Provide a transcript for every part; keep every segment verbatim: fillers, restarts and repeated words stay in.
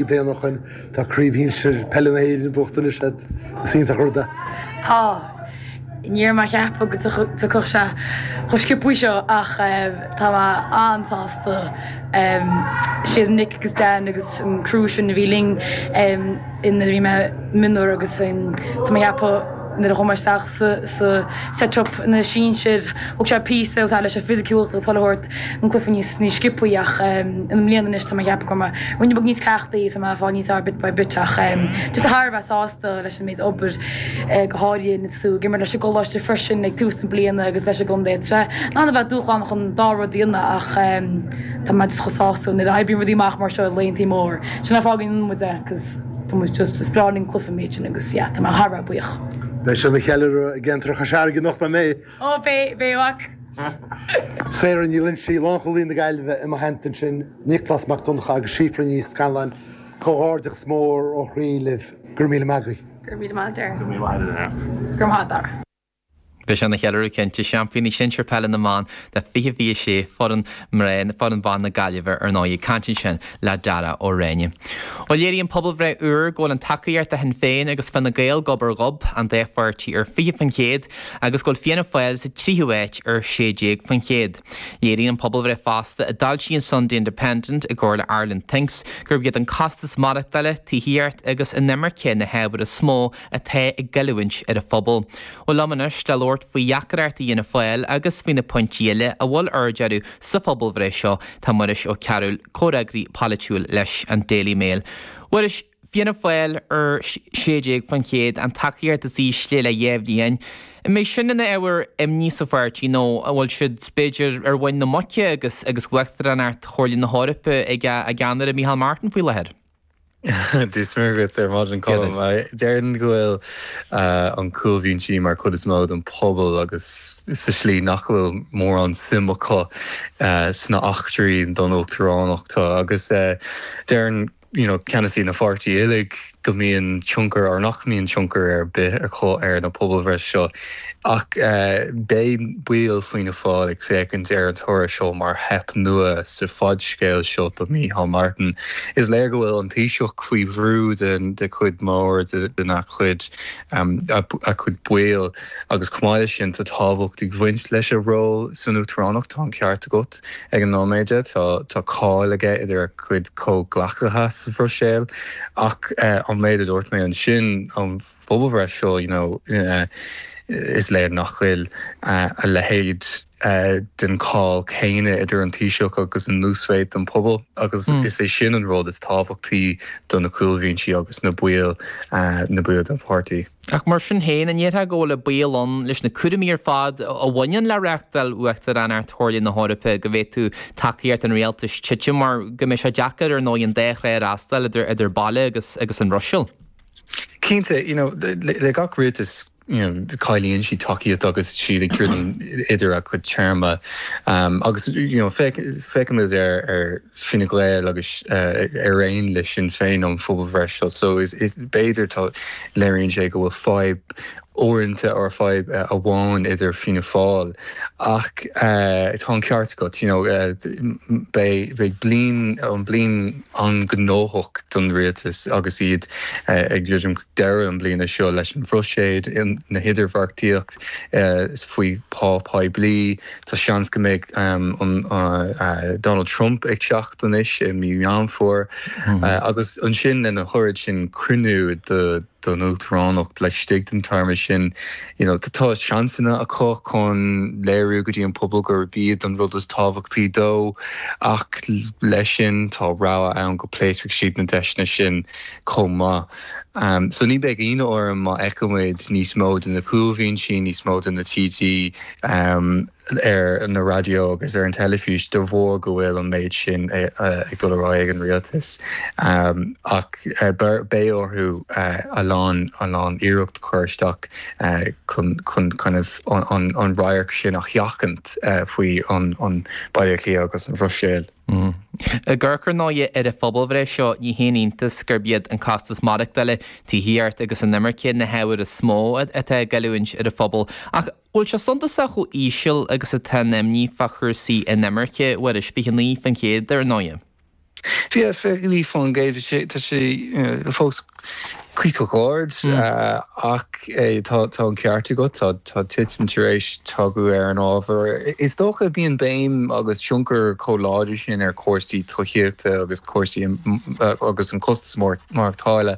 Bliain ó shin tá craobh shinsir peile na hÉireann buachta anois agat. Is iontach an rud é. Tá. Ní raibh mé ag ceapadh go dtiocfadh sé chomh sciobtha seo ach tá mé an-sásta. Siad Nick agus Dan agus an crew sin a bhí linn nuair a bhí mé mionúr agus tá mé ag ceapadh nuair a chuaigh mé isteach sa set-up na sinsir, thóg sé píosa agus leis an fisiciúlacht agus chuile shórt an cluiche níos níos sciobthaí ach i mbliana anois tá mé ag ceapadh go raibh mé ruainne beag níos cleachtaí tá mé ag fáil níos fearr bit by bit ach just thar a bheith sásta leis an méid obair go háirithe na tú ag imirt leis an gcoláiste freisin ag tús na bliana agus leis an gcontae. Tá sé in ann a bheith dúshlánach chun dá rud a dhéanamh ach tá mé just chomh sásta nuair a oibríonn rudaí amach mar seo i laethanta mór. Sin an fáth go ndéanann muid é 'cause Tá muid just, is breá linn cluiche an méid sin agus yeah, tá mé thar a bheith buíoch. Beidh sé ina cheiliúradh i gceantar Chois Fharraige anocht, nach mbeidh? Ó beidh, beidh a mhac. Sarah Ní Loinsigh, lánchúlaí na Gaillimhe i mo theannta ansin, Nioclás Mac Donncha agus Síofra Ní Scanláin, comhghairdeachas mór ó chroí libh. Go raibh míle maith agaibh. Go raibh míle maith agat, Dara. Go raibh míle maith agat, Dara. Go raibh maith agat, Dara. Beidh sé ina cheiliúradh cinnte, seaimpíní sinsir peile na mban de fiche fiche sé, foireann mná, foireann ban na Gaillimhe ar ndóigh, ag caint ansin le Dara Ó Réine. Bhuel léiríonn pobalbhreith úr go bhfuil an tacaíocht do Shinn Féin agus Fine Gael gob ar ghob, an dá pháirtí ar fiche faoin chéad, agus go bhfuil Fianna Fáil sa tríú háit ar sé déag faoin chéad. Léiríonn an pobalbhreith fosta a d'fhoilsigh an Sunday Independent i gcomhar le Ireland Thinks gurb iad an costas maireachtála, tithíocht agus inimirce na hábhair is mó atá ag goilliúint ar an phobal. Bhuel liom anois le labhairt faoi dheacrachtaí Fhianna Fáil agus faoi na pointí eile a bhfuil aird orthu sa phobalbhreith seo tá Muiris Ó Cearúil, comhfhreagraí polaitiúil leis an Daily Mail. Mhuiris, Fianna Fáil ar sé déag faoin chéad, an tacaíocht is ísle le dhá bhliain. An mbeidh sin ina ábhar imní sa pháirtí nó an bhfuil siad, b'fhéidir, ar mhuin na muice agus agus Uachtaránacht Chomhairle na hEorpa ag a gceannaire Micheál Martin faoi láthair? Dia is Muire dhuit ar maidin, Colm. Déarfainn go bhfuil an cúlbhinsí mar chuid is mó den phobal agus sa slí nach bhfuil mórán suim acu sna eachtraí don uachtaránacht agus deireann you know ceannasaí na pháirtí uilig go mbíonn tionchar or nach mbíonn tionchar ar bith acu ar na pobalbhreith seo ach beidh baill Fianna Fáil ag féachaint ar an toradh seo mar theip nua sa fhadscéal seo do Micheál Martin. Is léir go bhfuil an Taoiseach faoi bhrú den de chuid mór de na chuid a chuid baill agus chomh maith leis sin tá tábhacht ag bhaint leis a ról san uachtaránacht tá an ceart agat ag an nóiméad tá tá cáil aige idir a chuid comhghleacaithe sa Bhruiséil ach an méid a dúirt mé ansin an phobalbhreith seo you know, is léir nach bhfuil a leithéid den cháil céanna idir an Taoiseach agus an uasmhéid den pobal agus is é sin an rud is tábhachtaí do na cúlbhinsí agus na baill na baill den pháirtí. Ach mar sin féin, an ndéarfá go bhfuil an baol ann leis na cúraimí ar fad a bhaineann le reáchtáil Uachtaránacht Chomhairle na hEorpa go bhféadfadh tacaíocht an rialtais titim mar go mbeidh sé deacair ar ndóigh an dá thrá a fhreastal idir idir baile agus agus an Bhruiséil? Cinnte, you know, le, le gach rialtas you know, cailleann siad tacaíocht agus siad ag druidim idir a chuid téarma um, agus you know, féachaimid ar ar Fine Gael agus uh, ar aon le Sinn Féin an phobalbhreith seo so is, is b'fhéidir tá léiríonn sé go bhfuil fadhb uaireanta ar fadhb uh, amháin idir Fianna Fáil ach uh, tá an ceart agat you know, uh, beidh beidh bliain an bliain an-ghnóthach don rialtas agus iad uh, ag druidim deireadh an bliana seo leis an Bhruiséil na hidirbheartaíocht uh, faoi pá poiblí Tá seans go mbeidh um, an uh, uh, Donald Trump ag teacht anois i mí Meán Fómhair mm -hmm. uh, agus ansin lena oiread sin cruinniú de don uachtaránacht laistigh den téarma sin you know, tá seansanna acu chun léiriú go dtí an pobal gurb iad an rud is tábhachtaí dó ach leis sin tá rogha ann go bpléascfaidh siad na deiseanna sin chomh maith. Um, so ní bheidh ionadh orm má fheicimid níos mó de na cúlbhinsí níos mó de na TD um, ar na raidió agus ar an teilifís de bharr go bhfuil an méid sin ag dul ar aghaidh ag an rialtas um, ach uh, beidh orthu uh, a lán a lán iarracht chur isteach uh, chun chun kind of an, an, an radharc sin a sheachaint uh, faoi an, an Baile Átha Cliath agus an Bhruiséil. Mm. Ag amharc ar ndóigh ar an phobalbhreith seo ní haon iontas gurb iad an costas maireachtála, tithíocht agus an imirce na hábhair is mó atá ag goilliúint ar an phobal. Ach bhfuil sé suntasach chomh íseal agus atá an imní fá chúrsaí inimirce, Mhuiris, fiche naoi faoin chéad ar ndóigh. Yeah, fiche naoi faoin gcéad tá sé fós cuíosach ard ach tá tá an ceart agat tá tá titim tar éis teacht ar an ábhar. Is dócha bíonn béim agus tionchar chomh láidir sin ar chúrsaí tithíochta agus cúrsaí agus an costas maireachtála.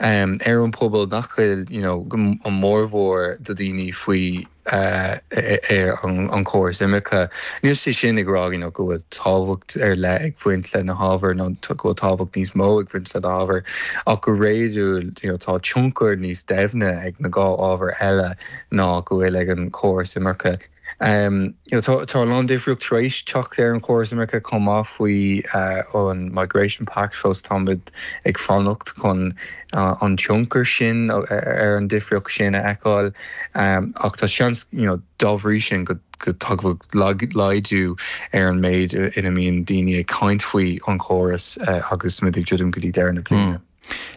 Um, ar an pobal nach bhfuil you know, an mórmhór de daoine faoi uh, ar an, an córas imirce. Níl sé sin ag rá you know, go bhfuil tábhacht ar leith ag baint le na hábhair nó go bhfuil tábhacht níos mó ag baint le na hábhair ach go réadúil you know, tá tionchar níos doimhne ag na dhá ábhar eile ná go bhfuil ag an córas imirce. Um, you know, tá tá lán difríocht tar éis teacht ar an chóras imirce chomh maith faoi uh, an Migration Pact fós táimid ag fanacht chun uh, an tionchar sin ar an difríocht sin a fheiceáil um, ach tá seans you know, dá bhrí sin go go dtagann laghdú ar an méid ina mbíonn daoine ag caint faoi an chóras uh, agus muid ag druidim go dtí deireadh na bliana. Mm.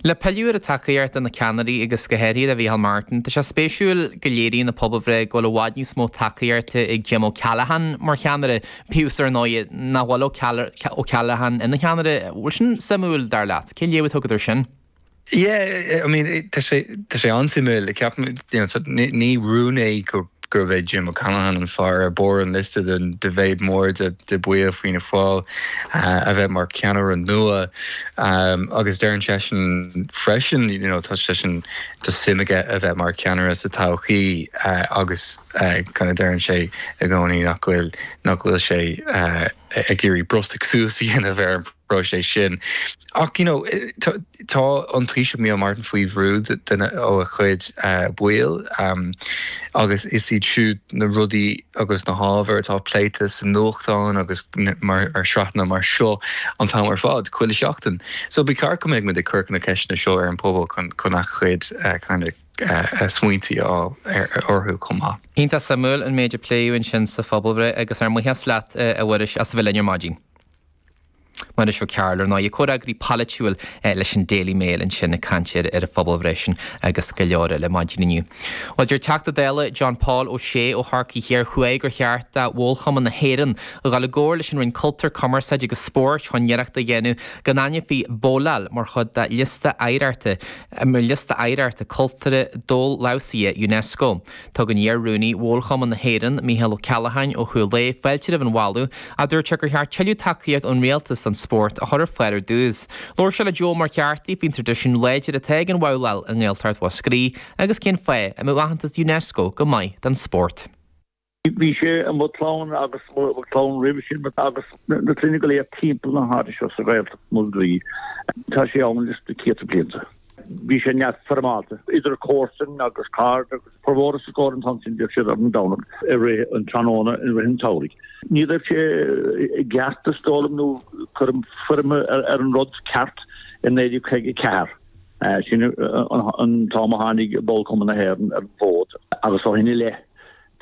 Le pilleadh ar an tacaíocht do na ceannairí agus go háirithe do Mhicheál Martin, Tá sé spéisiúil go léiríonn an pobalbhreith go bhfuil i bhfad níos mó tacaíochta ag Jim O'Callaghan mar cheannaire bíodh ar ndóigh nach bhfuil O'Callaghan ina cheannaire bhfuil sin suimiúil dar leat, cén léamh a thugann air sin? Yeah, I mean tá sé tá sé an-suimiúil ceapaim ní rún é go gurb é Jim O'Callaghan an fear ar barr an liosta den de mhéid mór de de bhaill Fianna Fáil uh, a bheith mar ceannaire nua um, agus deireann seisean freisin you know, tá seisean tá suim aige a bheith mar ceannaire sa todhchaí uh, agus uh, kind of deireann sé i gcónaí nach bhfuil nach bhfuil sé uh, ag iarraidh brostach suas a dhéanamh ar an bpróiseas sin. Ach you know, tá an Taoiseach Micheál Martin faoi bhrú ó a chuid uh, baill um, agus is iad siúd na rudaí agus na hábhair atá pléite sa nuachtán agus mar ar sraitheanna mar seo an t-am ar fad chuile sheachtain. So ba cheart go mbeadh muid ag cur na ceisteanna seo ar an pobal chun chun a chuid uh, kind of uh, smaointí á orthu chomh maith. Iontach suimiúil an méid a pléadh ansin sa phobalbhreith agus ár mbuíochas leat a Mhuiris as a bheith linn ar maidin. Muiris Mac Cearúil ar ndóigh comhfhreagraí polaitiúil leis an Daily Mail ansin ag caint ar an phobalbhreith sin agus go leor eile maidin inniu. Well deir Teachta Dála John Paul O'Shea ó Chorcaigh Thiar Thuaidh gur cheart do Bhólchumann na hÉireann a dhul i gcomhar leis an Roinn Cultúir Cumarsáide agus Spóirt chun iarracht a dhéanamh go n-aithneofaí bóláil mar chuid de liosta oidhreachta mar liosta oidhreachta cultúrtha domhanfheabhsaithe UNESCO. Tugann iar-rúnaí Bhólchumann na hÉireann Mícheál Ó Ceallacháin ó Chúil Aodha fáilte roimh an mholadh a dúirt sé gur cheart tuilleadh tacaíocht ón rialtas an spórt a chur ar fáil ar dtús. Labhair sé le Joe Ó Muircheartaigh faoin traidisiún láidir atá ag an bhabhláil i nGaeltacht Mhúscraí agus cén fáth a mbeadh aitheantas UNESCO go maith don spórt. Bhí sé i mo chlann agus mo chlann roimhe sin agus na clainne go léir timpeall na háite seo sa Ghaeltacht Mhúscraí. Tá sé ann leis na céadta blianta. Bhí sé neamhfhoirmeálta idir comharsain agus cairde agus formhór sa gcór an t-am sin bhíodh siad ar an Domhnach i rith an tráthnóna i rith an tsamhraidh. Ní raibh sé i gceart is dóigh liom nó cuireadh foirm ar an rud ceart i naoi déag caoga ceathair. Sin an t-am a tháinig Bólchumann na hÉireann ar an bhfód agus ó shin i leith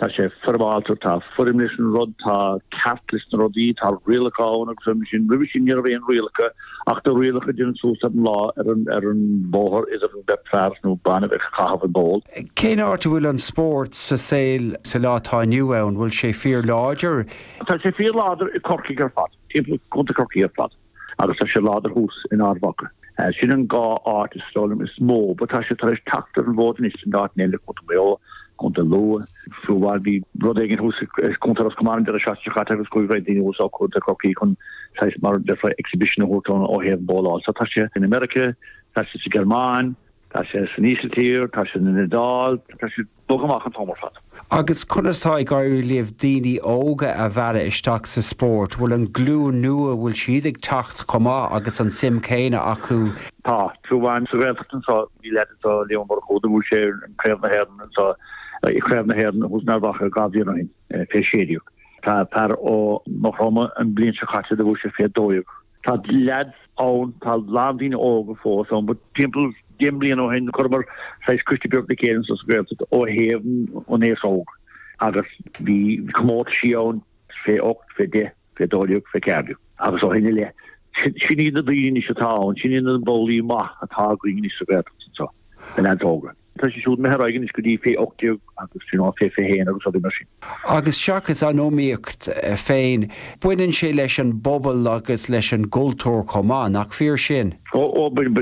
tá sé foirmeálta, tá foirm leis an rud, tá ceart leis na rudaí, tá rialacha ann agus roimhe sin roimhe sin ní raibh aon rialacha ach na rialacha déanamh suas ar an lá ar an ar an bóthar idir an beirt fear nó bean a bheith ag caitheamh an ból. Cén áit a bhfuil an spórt sa saol sa lá atá inniu ann, bhfuil sé fíorláidir? Tá sé fíorláidir i Corcaigh ar fad, timpeall Contae Chorcaí ar fad agus tá sé láidir thuas in Ard Mhacha. Sin an dhá áit is dóigh liom is mó, but tá sé tar éis teacht ar an bhfód anois in áiteanna eile, Contae Mhaigh Eo, Contae Lú, fiú amháin bhí rud éigin thuas i Contae Ros Comáin an deireadh seachtaine seo caite agus chuaigh roinnt daoine thuas ó Chontae Chorcaí chun saghas mar déarfá exhibition a thabhairt ann ó thaobh bóláil. So tá sé in America, tá sé sa Ghearmáin, tá sé san Ísiltír, tá sé san Iodáil, tá sé ag bogadh amach an t-am ar fad. Agus conas tá ag éirí libh daoine óga a mhealladh isteach sa spórt? Bhfuil an glúin nua, bhfuil siad ag teacht chomh maith agus an suim céanna acu? Tá, fiú amháin sa Ghaeltacht anseo, bhí leaid anseo, Liam Ó Murchú, do bhuaigh sé an Craobh na hÉireann anseo, Craobh na hÉireann thuas in Ard Mhacha dhá bhliain ó shin, fé sé déag. Tá fear ó Maigh Chromtha an bhliain seo caite do bhuaigh sé fé dó dhéag. Tá leaids ann, tá a lán daoine óga fós ann, but timpeall deich mbliana ó shin chuireamar saghas coiste beag le chéile anseo sa Ghaeltacht ó thaobh an aos óg agus bhí comórtaisí ann fé ocht, fé deich, fé dó dhéag, fé ceathair déag agus ó shin i leith sin iad na daoine anois atá ann, sin iad na bowlaí maith atá againn anois sa Ghaeltacht anseo, na leaids óga. Tá sé siúd imithe ar aghaidh anois go dtí fé ocht déag agus you know fé fiche haon agus rudaí mar sin. Agus seachas an iomaíocht féin, baineann sé leis an bpobal agus leis an gcultúr chomh maith, nach fíor sin? Ó ó baineann